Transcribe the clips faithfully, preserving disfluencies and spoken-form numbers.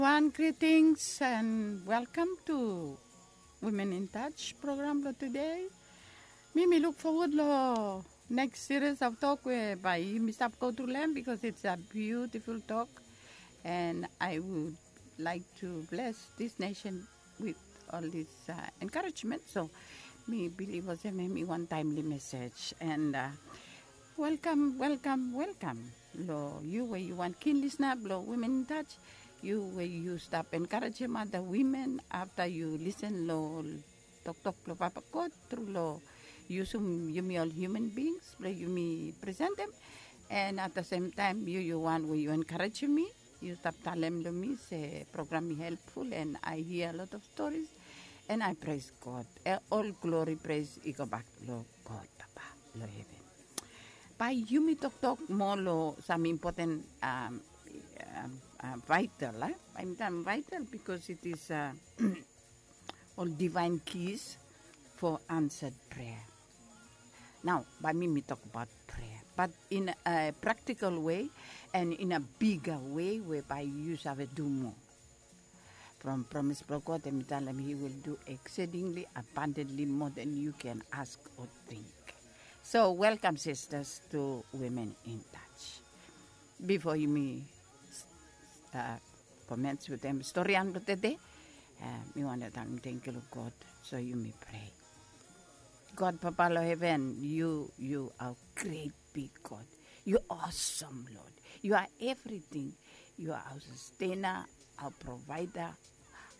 Wan greetings and welcome to Women in Touch program lo today. Mi mi luk fowod lo next series of tok we bae yumi stap go tru lo hem, because it's a beautiful tok, and I would like to bless this nation with all this uh, encouragement. So mi bilif olsem hemi wan timely message, and uh, welcome, welcome, welcome lo yu we yu wan keen listener blo Women in Touch. Yu we yu stap encouragem other women after yu listen lo toktok blo Papa God tru lo yusum yumi ol human beings blo yumi presentem. And at the same time, yu yu wan we yu encouragem mi, yu stap talem lo mi se program i helpful, and I hear a lot of stories, and I praise God. E, ol glory praise i go bak lo God Papa lo heven. Bae yumi toktok moa lo sam important um, um, uh, vital, eh? Bae mi talem vital because it is uh, ol divine keys for answered prayer. Nao bae mi mi tokbaot prayer, but in a practical way and in a bigger way we bae yu save du moa. From promise blo God, hemi talem he will do exceedingly abundantly more than you can ask or think. So welcome sisters to Women in Touch. Bifo yumi uh, comments wetem storian blo tede, uh, mi wantem talem tangkiu lo God. So yumi prea. God Papa lo heven, yu yu are great big God. Yu awesome Lord. Yu are everything. Yu are our sustainer, our provider,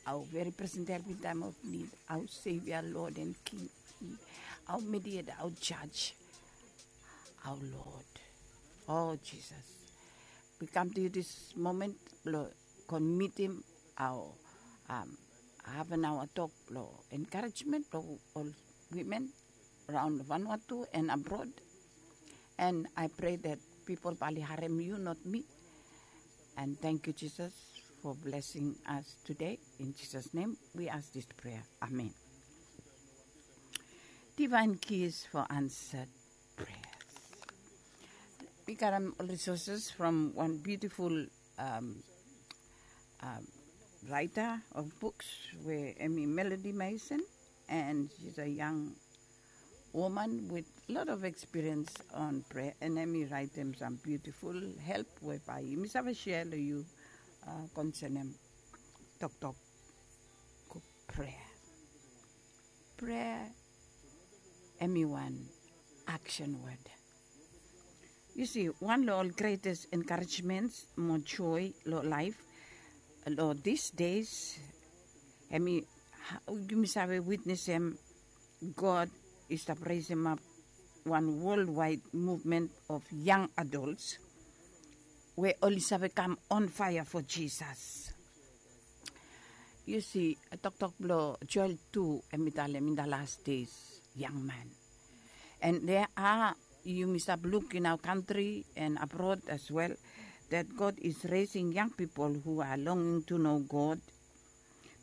our very present help in time of need, our Savior, Lord and King, our Mediator, our Judge, our Lord. Oh Jesus, we come to you this moment blo komitim our um, half an hour tok blo encouragement blo ol women around Vanuatu and abroad. And I pray that people bae oli harem yu, not me. And thank you, Jesus, for blessing us today. In Jesus' name, we ask this prayer. Amen. Divine keys for answered prayers. Mi karem ol resources from wan beautiful um, um, writer of books we hemi Melody Mason, and she's a young woman with lot of experience on prayer, and hemi raetem sam beautiful help we bae yumi save share lo yu uh, concernem toktok prayer. Prayer hemi wan action word. Yu si, wan lo ol greatest encouragements mo joy lo laef lo these days, hemi, yumi save witnesem God i stap resemap wan worldwide movement of young adults we oli save kam on fire for Jesus. Yu si, toktok blo Joel tu hemi talem in the last days, young man. And there are, yumi stap luk in our country and abroad as well, that God is raising young people who are longing to know God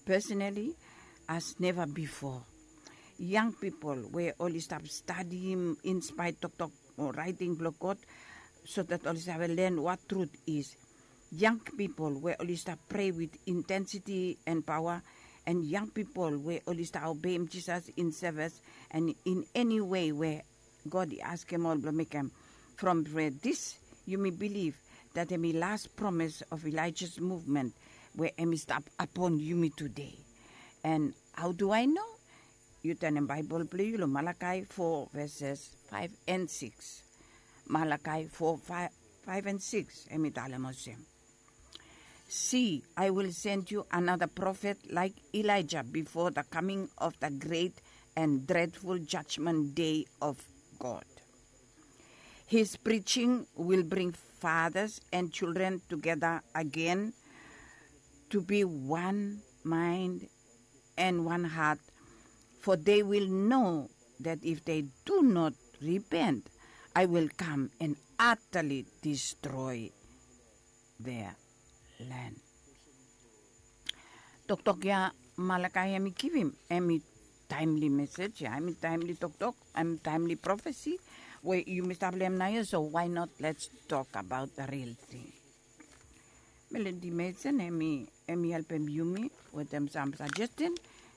personally as never before. Young people we oli stap stadim inspait toktok o raeting blo God, so that oli save len what truth is. Young people we oli stap prea with intensity and power, and young people we oli stap obeim Jesus in service and in any way we God i askem ol blo mekem. From prea this, yumi bilif that hemi last promise of Elijah's movement we hemi stap upon yumi today. And how do I know? Yu tanem Baebol blo yu lo Malakai four verses five and six. Malakai four, five, five and six, hemi talem olsem, "See, I will send you another prophet like Elijah before the coming of the great and dreadful judgment day of God. His preaching will bring fathers and children together again to be one mind and one heart, for they will know that if they do not repent, I will come and utterly destroy their land." Toktok ya Malakai hemi givim, hemi timely message ya, hemi timely toktok, hemi timely prophecy we yumi stap lo hem naoia. So why not, let's talk about the real thing. Melodi Mason, hemi hemi helpem yumi wetem sam sajestin,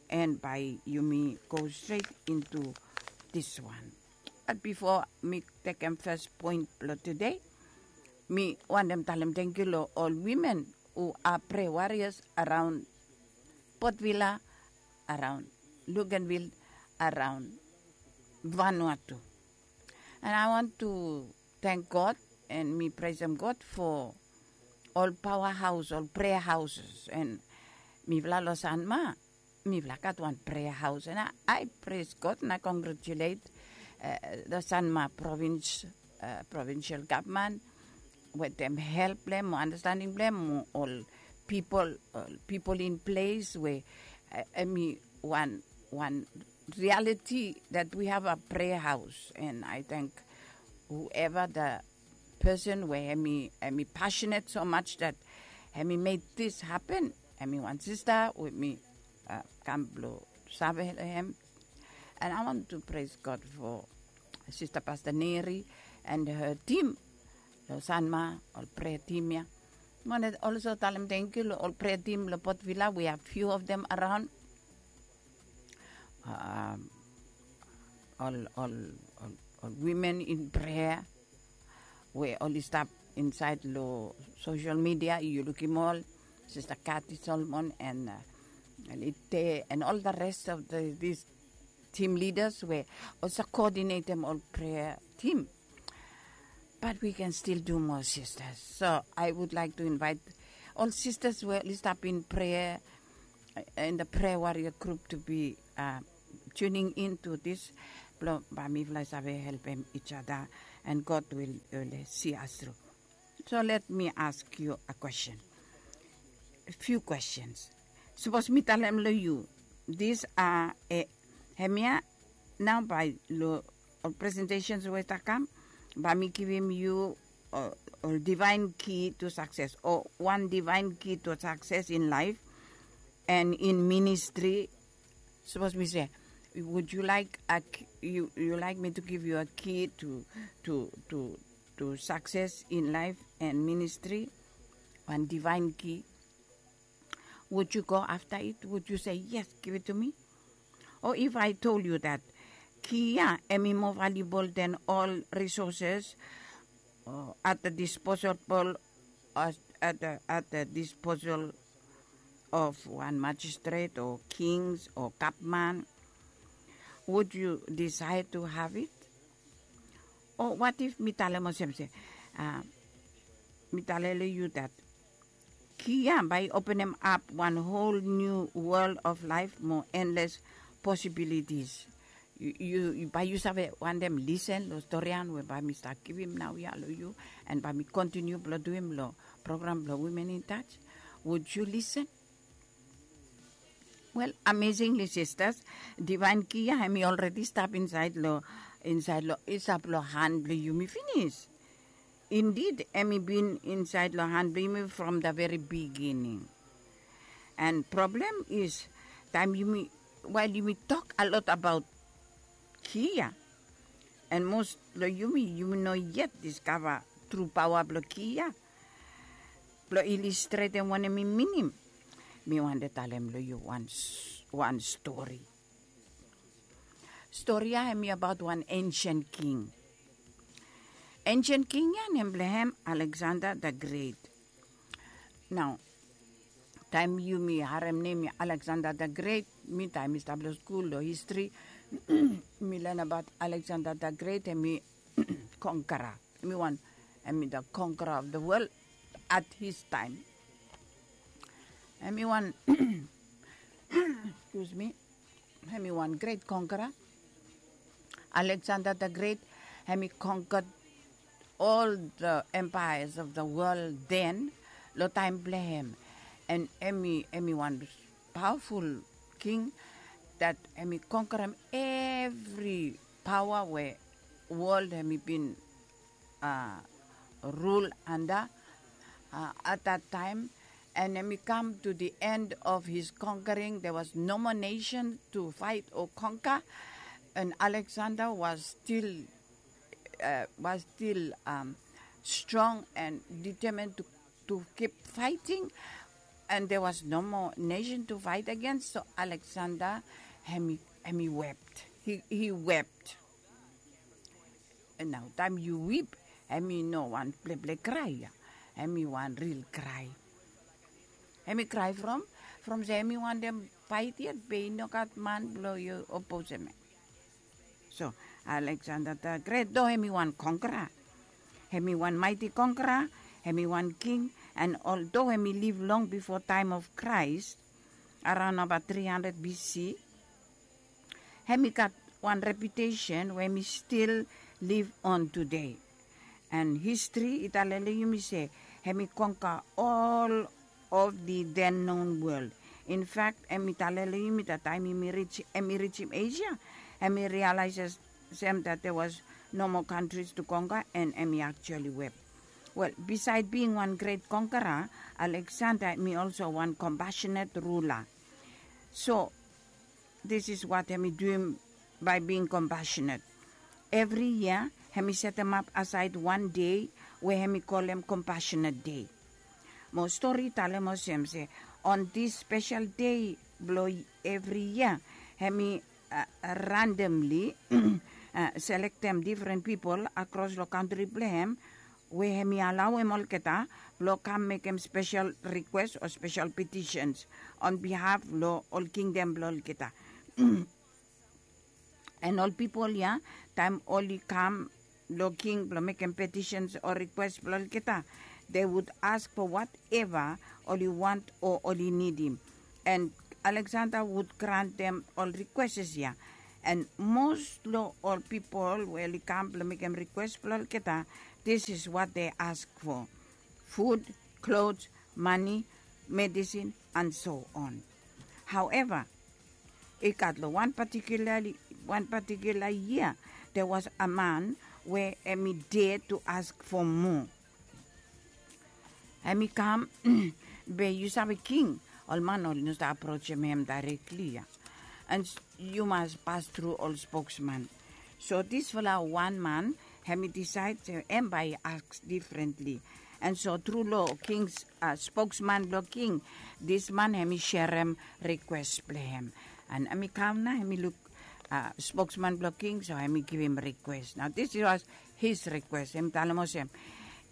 and bae yumi go stret into diswan. Bat bifo mi tekem fes poen blong tude, mi wantem talem tangkiu long ol wimen hu a prea warias araon Port Vila, araon Luganville, araon Vanuatu. And I want to thank God, and mi presem God fo ol paoa haos, ol prea haos, and mifala long Sanma mifala gat wan prea haos, and I pres God na kongretulet long Sanma provins, provinsel gavman wetem help blong hem o andastanding blong hem o ol pipol, ol pipol in ples we hemi wan wan realiti that we have a prea haos, and I thank whoever the person we hemi hemi passionate so much that hemi made this happen. Hemi wan sista we mi kam blong save long hem. And I want to praise God for Sister Pastor Neri and her team long Sanma, ol prea team ya. Mi wantem also talem tangkiu long ol prea team long Port Vila. We have few of them around. Um, ol ol ol ol wimen in prea we oli stap insaed long sosel midia, yu lukim ol Sista Kati Solomon and Lite and ol the rest of the, these team leaders we also koodinetem ol prea team. But we can still do more, sisters. So I would like to invite ol sistas we oli stap in prea, in the prea waria grup to be tuning in to this blong bae mifala i save helpem each other, and God will si us through. So let me ask you a question, few questions. Sapos mi talem long yu, this a hemia nao bae long ol presentations we i stap kam, bae mi givim yu ol divaen ki to sakses o wan divaen ki to sakses in laef and in ministri. Sapos mi se, would you like a, you like me to give you a key to to to to success in life and ministry? Wan divaen ki. Would you go after it? Would you say, yes, give it to me? Or if I told you that ki ya hemi moa valuable than all resources at the disposable at the disposal of wan magistrate o kings o gavman, would you desire to have it? O what if mi talem olsem se, mi talem long yu that ki ya bae i openem ap wan whole new world of life mo endless possibilities. Yu bae yu save wantem lisen long storian we bae mi stap givim naoia long yu, and bae mi kontiniu blong duim long program blong Women in Touch. Would you listen? Well, amazingly, sisters, divaen ki ya hemi already stap insaed long, insaed long, i stap long han blong yumi finis. Indeed, hemi bin insaed long han blong yumi from the very beginning. And problem is, taem yumi, wael yumi tok a lot abaot ki ya, and most long yumi, yumi no yet diskava tru paoa blong ki ya. Blong ilistretem wanem i minim, mi wantem talem long yu wan stori. Stori ya hemi abaot wan ensen king. Ensen king ya nem blong hem Alexander the Great. Nao taem yumi harem nem ya Alexander the Great, mi taem mi stap long skul long histri, mi len abaot Alexander the Great, hemi kongkara. Hemi wan, hemi the conqueror of the world at his time. Hemi wan, excuse me, hemi wan great conqueror. Alexander the Great, hemi conquered all the empires of the world then, long taem blong hem. And hemi, hemi wan powerful king that hemi conquerem evri paoa we world hemi bin rule under at that time. And hemi kam to the end of his conquering. There was no more nation to fight or conquer, and Alexander was still was still strong and determined to to keep fighting, and there was no more nation to fight against. So Alexander, hemi, hemi wept. He, he wept. And now, time you weep, hemi no wan pleple cry, yeah. Hemi wan real cry. Hemi cry from, from se hemi wantem fight yet, be i no gat man blo i oppose hem. So Alexander the Great, though hemi wan conqueror, hemi wan mighty conqueror, hemi wan king, and although hemi live long before time of Christ, around about three hundred B C, hemi gat wan reputation we hemi still live on today. And history i talem long yumi se hemi conquer all of the then known world. In fact, hemi talem long yumi that time hemi reach, hemi reach Asia, hemi realizes that there was no more countries to conquer, and hemi actually wept. Well, beside being one great conqueror, Alexander hemi also one compassionate ruler. So this is what hemi duim by being compassionate. Evri yia hemi setemap asaed wan dei we hemi kolem Compassionate Day. Mo stori i talem olsem se on this special day blo evri yia, hemi randomly selektem difren pipol akros lo kantri blo hem we hemi alaoem olgeta blo kam mekem spesel rikwes o spesel petisens on bihaf lo ol kingdom blo olgeta. And ol pipol ya, taem oli kam lo king blo mekem petisens o rikwes blo olgeta, they would ask for whatever oli want o oli nidim. And Alexander would grantem ol rikweses ya. And mos lo ol pipol we oli kam blo mekem rikwes blo olgeta, this is what they ask for: food, clothes, money, medicine, and so on. However, i gat lo wan patikula, wan patikula yia, there was a man we hemi dare to ask for more. Hemi kam, be yu save king, ol man oli no stap aprojem hem daerekli ya. And yu mas pas tru ol spokesman. So disfala wan man hemi disaed se hem bae i aks difrentli. And so tru lo king, spokesman blo king, this man hemi serem rikwes blo hem. And hemi kam nao, hemi luk spokesman blo king, so hemi givim rikwes. Nao this was his request. Hemi talem olsem,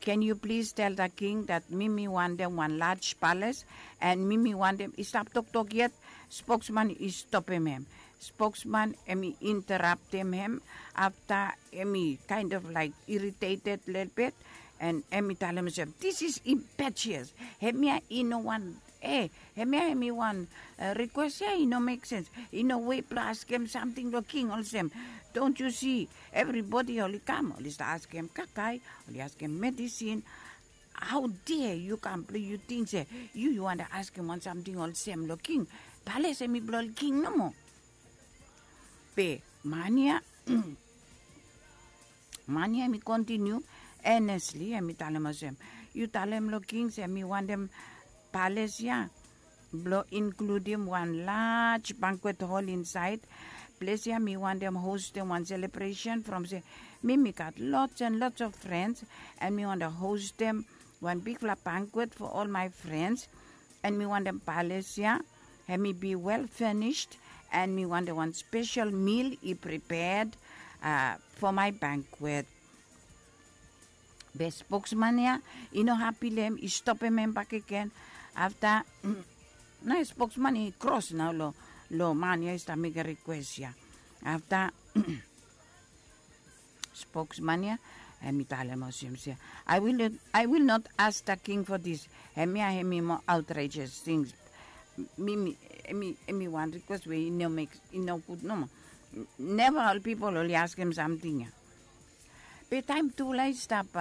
can you please tell the king that mi mi wantem wan large palace, and mi mi wantem, i stap toktok yet, spokesman i stopem hem. Spokesman hemi interaptem hem, afta hemi kind of like irritated lelebet, and hemi talem olsem, this is impetuous. Hemia i no wan, e, hemia hemi wan rikwes ya i no mek sens. I no wei blo askem samting lo king olsem, don't you see, evribodi oli kam, oli stap askem kakae, oli askem medisin. How dare yu kam blo yu ting se yu, yu wantem askem wan samting olsem lo king? Pales hemi blo ol king nomo. Be man ya, man ya hemi kontiniu enesli, hemi talem olsem, yu talem lo king se mi wantem pales ya blo inkludim wan large banquet hall insaed. Ples ya mi wantem hostem wan selebresen from se mi, mi gat lots and lots of friends, and mi wantem hostem wan bigfala banquet for all my friends. And mi wantem pales ya hemi be well furnished, and mi wantem wan spesel meal i prepared for my banquet. Be spokesman ya i no hapi lo hem, i stopem hem bakegen. Afta nao spokesman i kros nao lo, lo man ya i stap mekem rikwes ya. Afta spokesman ya hemi talem olsem se, I will, I will not ask the king for this. Hemia hemi moa outrageous things. Mi, mi, hemi, hemi wan rikwes we i no mek, i no gud nomo. Neva ol pipol oli askem samting ya. Be taem tufala i stap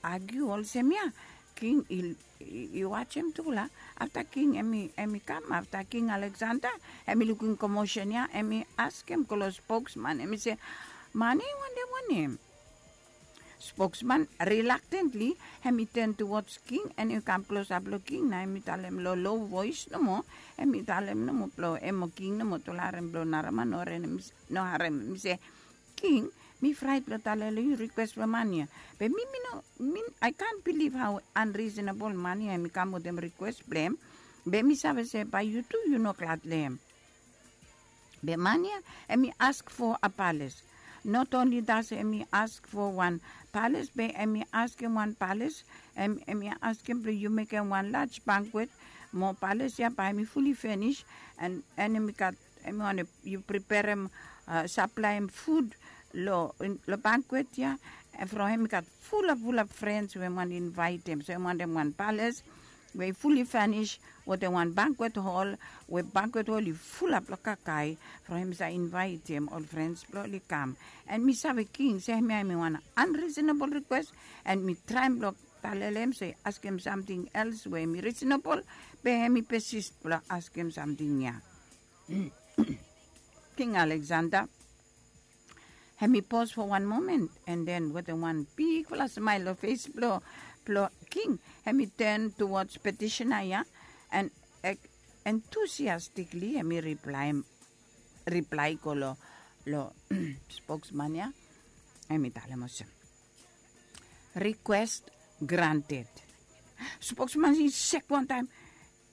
agiu olsem ya, king i, i wajem tufala. Afta king hemi, hemi kam, afta King Alexander hemi lukim komosen ya, hemi askem klos spokesman, hemi se, man ya i wantem wanem? Spokesman reluctantly hemi turn towards king, and i kam klosap lo king, nao hemi talem lo low voice nomo, hemi talem nomo blo hem mo king nomo, tufala harem, blo naraman no harem, no harem, hemi se, king, Mi fraet blong talem long yu rikwes blong man ya. Be mi mi no mi, I can't believe how unreasonable man ya em i kam wetem rikwes blong em. Be mi save se bae yu tu yu no glad long em. Be man ya em i ask fo a pales. Not only das em i ask fo wan pales be em i askem wan pales. Em i askem blong yu mekem wan laj bankwet mo pales ya bae em i fuli finis. En em i gat em i wantem yu preperem, saplaem fud long bankwet ya. From em i gat fulap fulap frens we em wantem invaetem so em wantem wan pales we i fuli finis wetem wan bankwet hol, we bankwet hol i fulap long kakae. From em i save invaetem ol frens blong oli kam. En mi save king se em ya em i wan anrisonabol rikwes. En mi traem blong talele em se i askem samting els we em i risonabol. Be em i pesis blong askem samting ya. King Aleksanda hem i pos fo wan momen, en den wetem wan bigfala smael long fes blong king hem i ten tuwods petisena ya. En entusiastikli hem i riplae go long spoksman ya. Hem i talem olsem, rikwes granted. Spoksman i sek wantaem.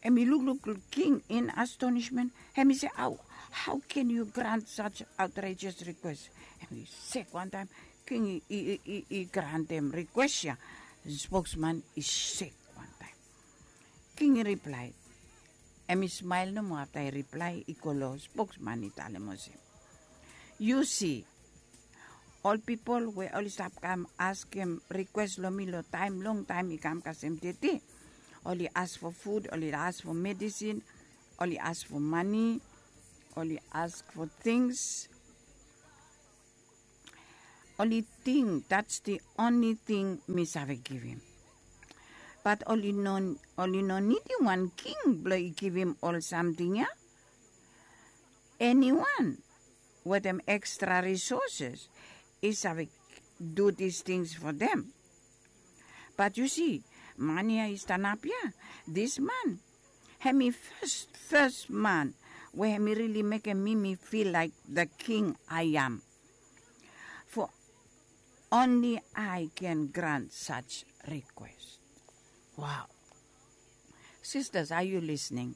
Hem i lukluk king in astonismen. Hem i se, hau ken yu grant saj aotraejes rikwes? Hem i sek wantaem. King i grantem rikwes ya. Spoksman i sek wantaem. King i riplae. Hem i smael nomo afta i riplae i go long spoksman i talem olsem, yu si, ol pipol we oli stap kam askem rikwes long mi long taem longtaem i kam kasem tete. Oli as fo fud, oli as fo medisin, oli as fo mane, oli as fo tings. Oli ting dats di onli ting mi save givim. Bat oli no nidim wan king blong i givim ol samting ya. Eniwan wetem ekstra risoses i save du dis tings fo dem. Bat yu si, man ya i stanap ya, dis man hem i fes fes man we hem i rili mekem mi mi fil laik the king I am. Fo onli I ken grant saj rikwes. Wow. Sistas, are yu lisning?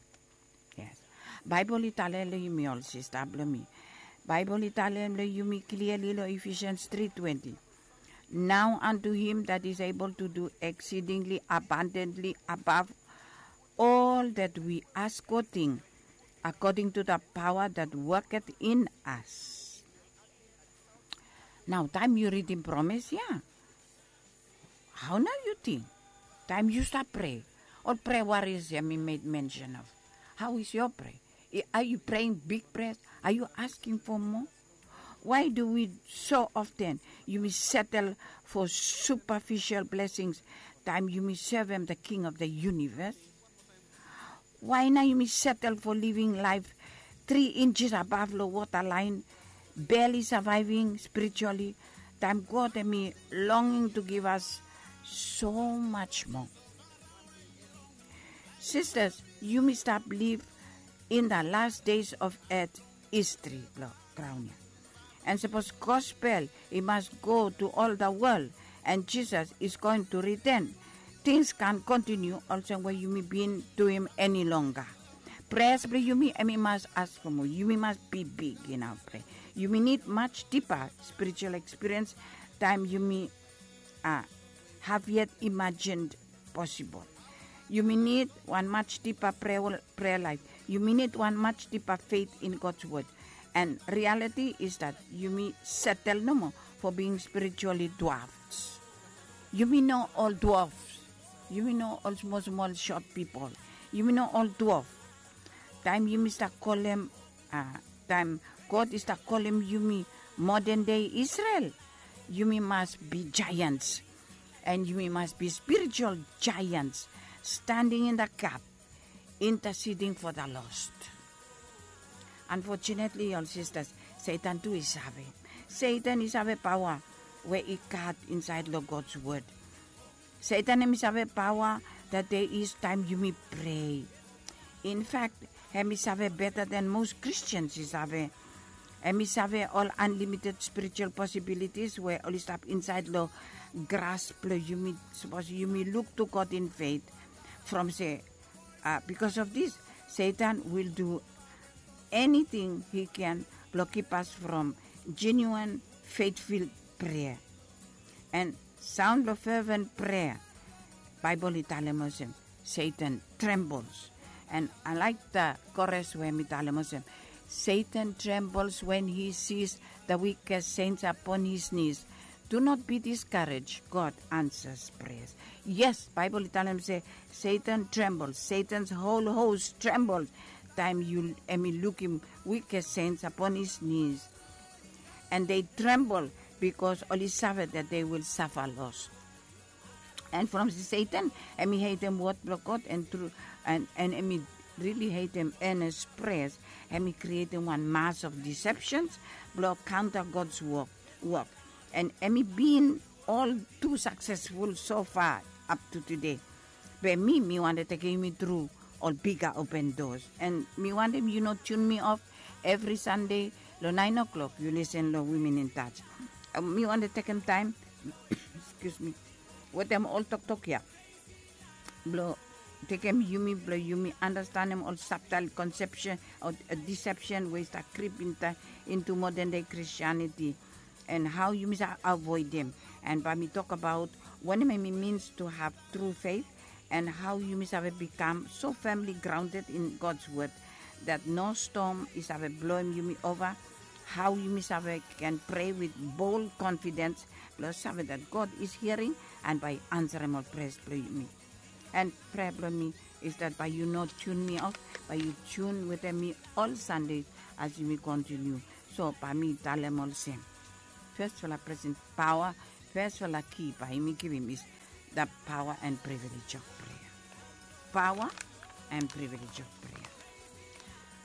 Yes. Baebol i talem long yumi ol sista blong mi. Baebol i talem long yumi kliali long Efesians tri twenti. Now unto him that is able to do exceedingly abundantly above all that we ask or think, according to the power that worketh in us. Nao taem yu ridim promes ya, hao nao yu ting? Taem yu stap prea, ol prea waris ya mi med mensen of, hao is yo prea? Are yu preing big prea? Are yu asking fo moa? Why do we so often yumi setel fo supafisel blesings taem yumi sevem the king of the unives? Wae nao yumi setel fo living laef tri injes abaf long wota laen, beli savaeving spirituali, taem God hem i longing tu givas so maj moa? Sistas, yumi stap liv in the last days of et histri blong graon ya. And sapos gospel i mas go tu ol the wol, and jisas is going tu riten, tings kan kontiniu olsem we yumi bin duim eni longga. Pres blong yumi em i mas as fo moa yumi mas bibig inaf prea. Yumi nid maj dipa spiritual ekspiriens taem yumi a haf yet imajin posibol. Yumi nid wan maj dipa prea laef. Yumi nid wan maj dipa feit in gods wod. And rialiti is dat yumi setel nomo fo bing spirituali dwafs. Yumi no ol dwafs. Yumi no ol smol smol sot pipol. Yumi no ol dwaf. Taem yumi stap kolem taem god i stap kolem yumi moden dei isrel, yumi mas bi jaeans. And yumi mas bi spiritual jaeans, standing in the gap, interceding for the lost. Unfortunately ol sistas, setan tu i save. Setan i save paoa we i gat insaed long gods wod. Setan hem i save paoa dat dei is taem yumi prea. In fak, hem i save beta den mos kristians i save. Em i save ol unlimited spiritual possibilities we oli stap inside lo gras blo yumi. Sapos yumi look to God in faith from se, uh, because of this, Satan will do anything he can blo keep us from genuine faithful prayer and sound lo fervent prayer. Baibel i talem olsem, Satan trembles. And I like the chorus we mi talem olsem, Satan trembles when he sees the weakest saints upon his knees. Do not be discouraged, God answers prayers. Yes, Baibel i talem se Satan trembles, Satan's whole host trembles taem yu em i lukim weakest saints upon his knees. And they tremble because oli save that they will suffer loss. And from Satan, em i hatem word blo God and tru, and, and em i really hatem earnest prayers. Em i createm wan mass of deceptions blo counter God's work, work. And em i bin all too successful so far up to today. Be mi, mi wante tekem yumi tru ol bigger open doors. And mi wantem yu no tune mi off every Sunday lo nine o'clock yu listen lo Women in Touch. Mi wante tekem taem, excuse me, wetem ol toktok ya blo tekem yumi blo yumi understandem ol subtle conception o deception we i stap creep into modern day Christianity, and hao yumi save avoidem. And bae mi tok abaot wanem em i means to have true faith and hao yumi save bikam so firmly grounded in God's word that no storm i save bloem yumi ova. Hao yumi save can pray with bold confidence blo save that God is hearing and bae i ansarem ol prayers blo yumi. And prayer blo mi is that bae yu no tune mi off, bae yu tune wetem mi ol Sunday as yumi continue. So bae mi talem olsem, firstfala presen paoa, firstfala ki bae yumi givim is the power and privilege of prayer. Power and privilege of prayer.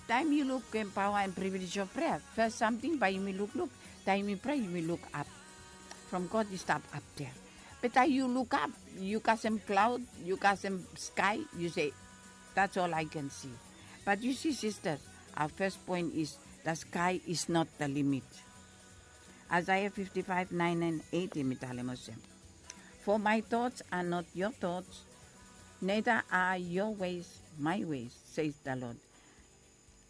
Taem yu lukim power and privilege of prayer, first samting bae yumi lukluk, taem yumi pray yumi luk ap. From God i stap ap there. Be taem yu luk ap, yu kasem cloud, yu kasem sky, yu se, that's all I can see. But you see, sisters, our first point is the sky is not the limit. Isaiah fifty-five, nine and eight, em i talem olsem, for my thoughts are not your thoughts, neither are your ways my ways, says the Lord.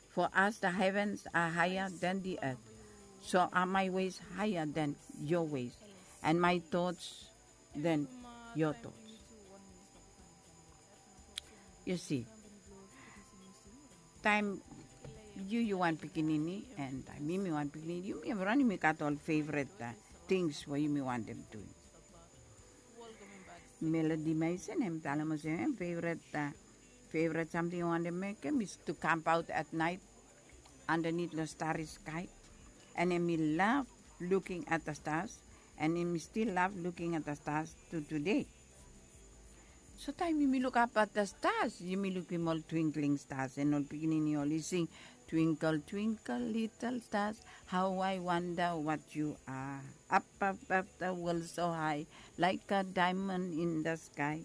For as the heavens are higher than the earth, so are my ways higher than your ways, and my thoughts than your thoughts. Yu si, taem yu yu wan pikinini and taem mi mi wan pikinini, yumi evriwan yumi gat ol favorit tings we yumi wantem duim. Melody Mason em talem olsem em favorit, favorit samting i wantem mekem is to kampaot at night andanit long stari skai. And em i lav luking at the stars, and em i stil lav luking at the stars to today. So taem yumi lukap at the stars, yumi lukim ol twinkling stars and ol pikinini oli sing, twinkle twinkle little stars, how I wonder what you are, up above the world so high, like a diamond in the sky.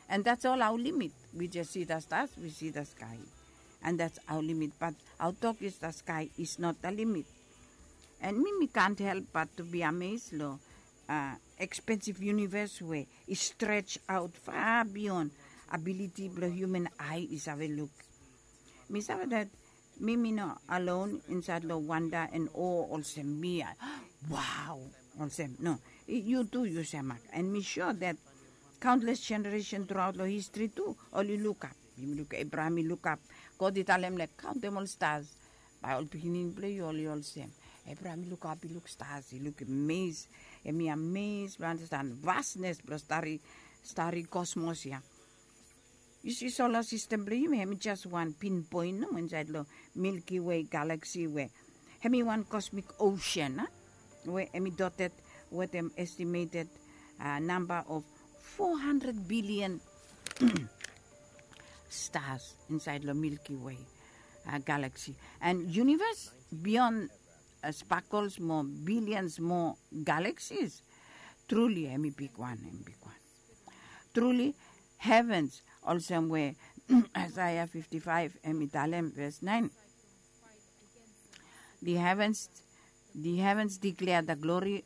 And that's all our limit. We just see the stars, we see the sky. And that's our limit. But our tok is the sky is not the limit. And mi mi kant help but to be amazed long expensive universe we i stretch out far beyond ability blong human eye i save luk. Mi save that mi mi no alone inside long wonder and awe olsem mi. Wow, olsem no, yu tu yu semak. And mi sure that countless generation throughout long history tu oli lukap. Yumi luk Abraham i lukap, God i talem long kaontem ol stars. Bae ol pikinini blong yu oli olsem. Abraham i lukap, i luk stars, i luk amazed. Em i amazed blong understand vastness blong stari, stari cosmos ya. Yu si solar system blong yumi em i jes wan pinpoint nomo insait long Milky Way galaxy we em i wan cosmic ocean a, we em i dotted wetem estimated namba of four hundred billion stars insait long Milky Way galaxy. And universe beyond sparkles mo billions mo galaxies. Truly em i bigwan, em i bigwan. Truly heavens, olsem we Isaiah fifty-five em i talem, verse nine. The heavens The heavens declare the glory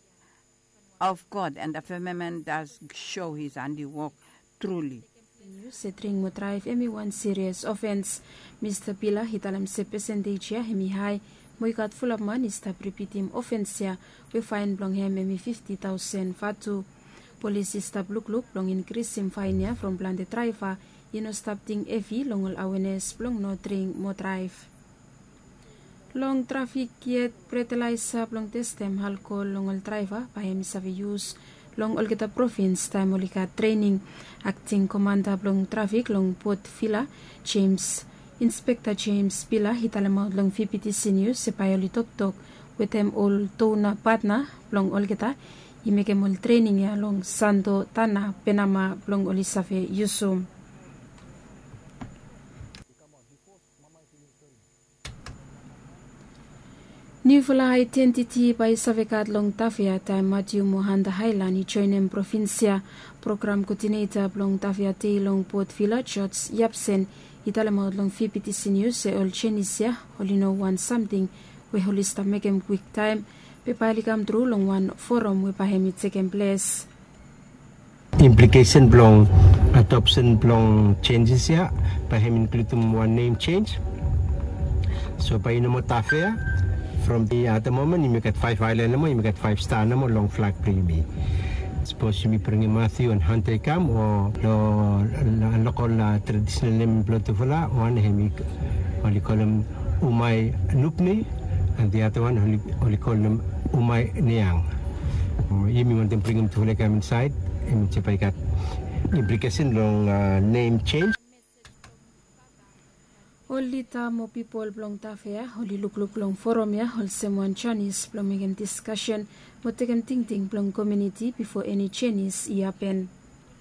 of God, and the firmament does show his handiwork truly. Nius se dring mo draev hemi wan sirias ofens. Mista Pila i talem se pesentej ya hemi hae, mo i gat fulap man i stap ripitim ofens ya, we faen blong hem hemi fifti taosen vatu. Polis i stap lukluk blong inkrisim faen ya from plante draeva i no stap ting hevi long ol awenes blong no dring mo draev. Long trafik yet, bretelaesa blong testem alkohol long ol draeva bae hemi save yus long olgeta provins taem oli gat trening. Akting komanda blong trafik long Port Vila, Jems, Inspekta Jems Pila i talemaot long VBTC Nius se bae oli toktok wetem ol dona patna blong olgeta i mekem ol trening ya long Santo Tana Penama blong oli save yusum. Niufala aedentiti bae i save gat long Tafea taem Matiu mo Hanta Haelan i joenem provins ya. Program koodineta blong Tafea Dei long Port Vila, George Yapsen, i talemaot long VBTC Nius se ol jenis ya oli no wan samting we oli stap mekem kwiktaem, be bae oli kamtru long wan foram we bae hemi tekem ples. Implikesen blong adopsen blong jenjes ya bae hem inkludim wan nem jenj. So bae i no moa Tafea. From the other moment yumi gat faef aelan nomo, yumi gat faef sta nomo long flag blong yumi. Sapos yumi bringim Matiu and Hanta i kam o long lokol tradisonal nem blong tufala, wan hemi oli kolem Umai Nupni, and the other one oli kolem Umai Niang. Yumi wantem bringim tufala i kam insaed, hemi bae i gat implikesen long nem jenj. Ol lida mo pipol blong Tafea oli lukluk long foram ya olsem wan janis blong mekem diskasen mo tekem tingting blong komuniti bifo eni jenis i hapen.